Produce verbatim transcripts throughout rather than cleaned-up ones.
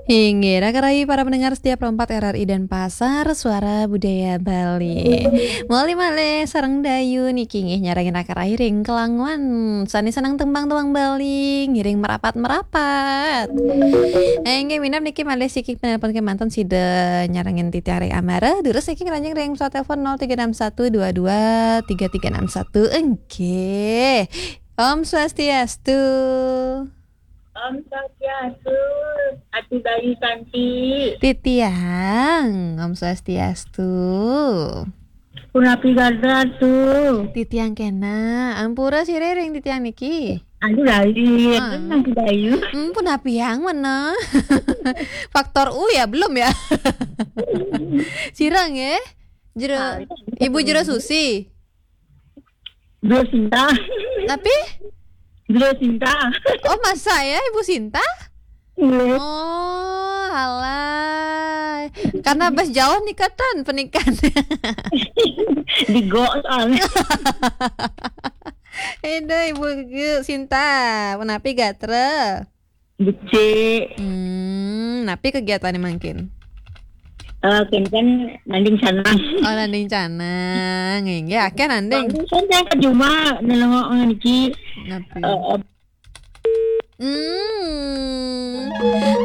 Inggih, raka rayi para pendengar setia Pro empat R R I Denpasar, Suara Budaya Bali. Moli malih sareng Dayu niki nggih nyarengin raka rayi ring Kelanguan. Sane seneng tembang-tembang Bali, ngiring merapat-merapat. Eh, inggih minab niki malih siki penelpon kemanten sida nyarengin titiang ring Amara. Durus niki ngranjing ring pesawat telepon nol tiga enam satu dua dua tiga tiga enam satu. Nggih. Om Swastiastu. Om Swastiastu, Ati Bayu Santi. Titiang, Om Swastiastu. Punapi gatra, Atu? Titiang kena, ampura sira ring titiang niki. Anu Bayu, Ah. Anu Bayu. Hmm, punapi yang mana? Faktor U ya, belum ya? Sira nggih? Jero, Ah, iya. Ibu Jero Susi. Bro Sinta. Tapi? Bro Sinta. Oh, masa ya, Ibu Sinta? Iya. Oh, alah. Karena bas jauh nikatan pernikahan. Digok soalnya. Aduh, Ibu Sinta, punapi gatra? Becik. Hmm, napi kegiatannya mangkin? Eh, kenten nanding canang. Oh, nanding canang. Inggih, akeh nanding. Nanding canang cuma nelengok ngene iki. Napi? Eh, eh. Hmm.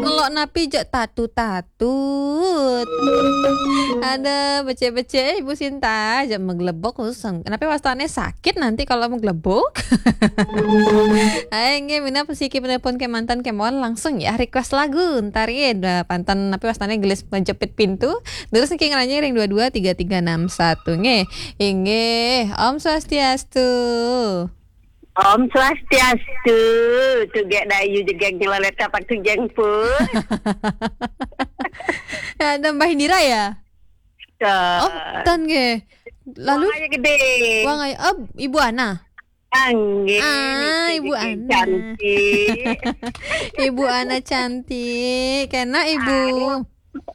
Ngelok napi jek tatu-tatut. Ada becik-becik Ibu Sinta, jek meglebok khusus. Napi wastane sakit nanti kalau meglebok? Ayo, nggih, minab siki penelpon kemanten kemawon langsung ya, request lagu. Ntar ya, ada panten napi wastane gelis menjepit pintu. Terus niki ngeranjing ring dua dua tiga tiga enam satu, nggih. Inggih, Om Swastiastu. Om Swastiastu. Tugek Dayu jegeng nyelolet kapak tujeng pun. Ya, ada Mbah Indira ya? Ten. Oh, ten nggih. Lalu? Wang aja gede. Wang aja, oh, Ibu Ana. Anggih, Ah, niki Ibu niki Ana. Cantik. Ibu Ana cantik. Kena Ibu.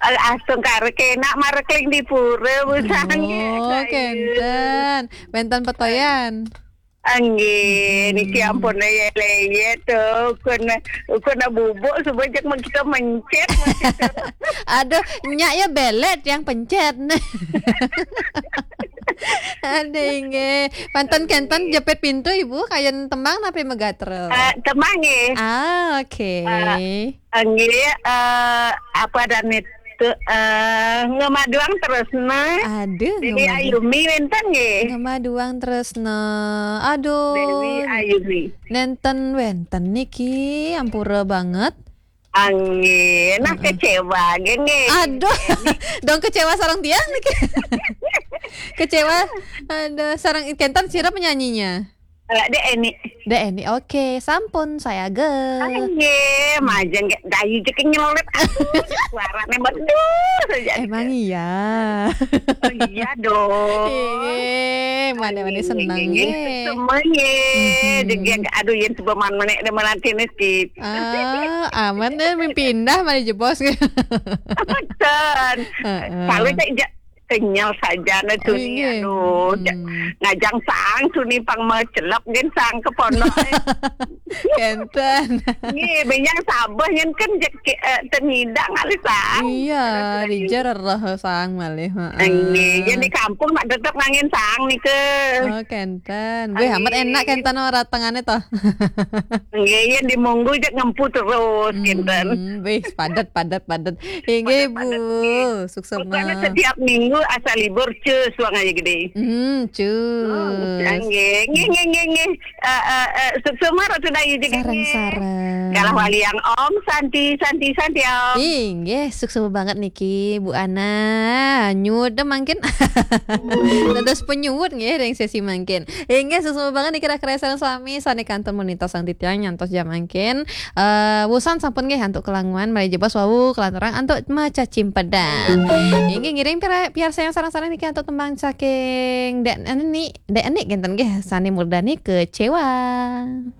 Aduh, asung karek enak marekling di pura, Bu Sanggih. Oh, kenten. Wenten petoyan. Anggih, niki Hmm. ampun ya leye tuh. Kun, kun bubuk suba jek kita mencet, mencet. Aduh, nyak ya belet yang pencet. Ada inggih. Panten kenten jepit pintu, Ibu, kayen tembang napi megatra? Eh, tembang nggih. Ah, oke. Eh, Anggih, eh, apa dan itu, eh, ngemaduang tresna. Aduh, Dewi ngemaduang. Ayumi wenten nggih. Ngemaduang tresna. Aduh. Dewi Ayumi. Nenten wenten niki, ampura banget. Anggih, nah Heeh. kecewa nggih nggih. Aduh, dong kecewa sareng tiang niki. Kecewa. Aduh, sareng kenten sira penyanyinya? Eh, Dek Eni. Dek Eni, oke, sampun saya ge. Nggih, majeng nggih, Dayu jek nyelolet. Aduh, suarane medul saja. Emang iya. Oh, iya dong. Nggih, mana-mana Nggih, seneng nggih, nggih. nggih. Semua nggih. Mhm. Jeng, aduh, yen sebab man menek dan menanti niki. Ah, aman deh, pindah mana jebos. Betul. Heeh. Kalau saya ja-, kenyal saja na tuni, Inggih. aduh, ja-, Hmm. ngajang sang tuni pang macelep gen sang ke pondok. Kenten. Nggih, benyang sabeh nyen kan jek, eh, tenidang alih sang. Iya, Terus lagi. dijer roh sang malih, heeh. Nggih, yen di kampung nak tetep ngangen sang nika. Oh, kenten. Wih, amat Nggih. enak kenten ora tengane toh. Nggih, yen di Monggo jek ngempu terus, kenten. Hmm, wih, padet, padet, padet. Inggih, Padet, padet, Bu. nggih. Suksema. Pokoknya setiap minggu asal libur, cus, wang aja gede. Hmm, cus. Oh, nggih, nggih, nggih, nggih, nggih. Eh, eh, eh, suksema Ratu Dayu juga, Sareng, nggih. sareng. Galah waliang Om Santi, Santi, Santi, Om. Inggih, suksema banget niki, Bu Ana. Nyuwun mangkin. Dados penyuwun nggih ring sesi mangkin. Inggih, suksema banget niki raka rayi sareng sami sane kantun monita sang titiang nyantos jam mangkin. Eh, wusan sampun nggih antuk kelanguan, malih jebos wau kalanturang antuk maca cimpedan. Inggih, ngiring pira-, piarsayang sareng-sareng niki antuk tembang saking Dek Eni, Dek Eni kenten nggih, sane murdani Kecewa.